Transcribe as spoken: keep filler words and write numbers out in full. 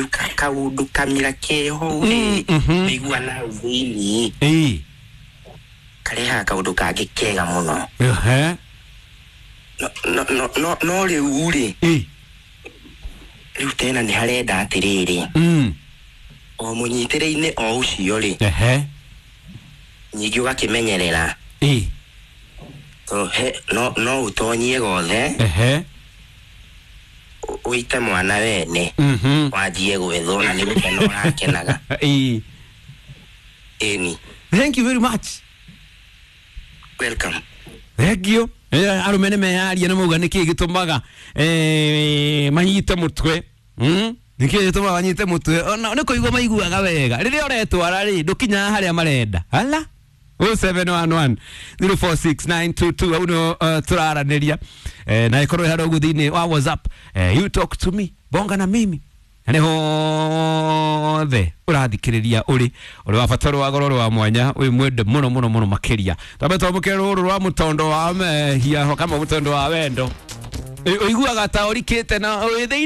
Kaundu kamira keho rĩ, Mhm. wĩigua na hau thĩiniĩ Ĩĩ. karehaga kaundu kangĩ kega mũno. Ehe. no no no no no rĩu rĩ, Ĩĩ. rĩu tena nĩ harenda atĩrĩrĩ, Mm. o mũnyitĩrĩinĩ o ũcio rĩ, Ehe. nyingĩ ũgakĩmenyerera. Ĩĩ. To he no no ũtonyie gothe, Ehe. ũ- ũite mwana wene, Mhm. wanjie gwethwo na nĩ gũkena ũrakenaga. Ĩĩ. Ĩni. Thank you very much. Welcome. Thank you. Eh, arume nĩ meyaria nĩ mauga nĩkĩ gĩtũmaga eh, manyite mũtwe. Mm? Nĩkĩ gĩtũmaga manyite mũtwe? Ona nĩ kũigua maiguaga wega rĩrĩa ũretwara rĩ, ndũkinyaga harĩa marenda. Hala zero seven one one zero four six nine two two, hau nĩho uh, tũraranĩria. eh, na ĩkorwo ĩharĩa ũguo thĩinĩ wa WhatsApp, eh, you talk to me, bonga na mimi, na nĩ hothe ũrathikĩrĩria ũrĩ ũrĩ wa bata, ũrĩ wa goro, ũrĩ wa mwanya, wĩ mwende mũno mũno mũno makĩria. Twambe twamũkĩre rũrũ rwa mũtondo wa mehia kama mũtondo wa wendo. Ĩ- ũiguaga ta ũrikĩte na wĩ thĩinĩ.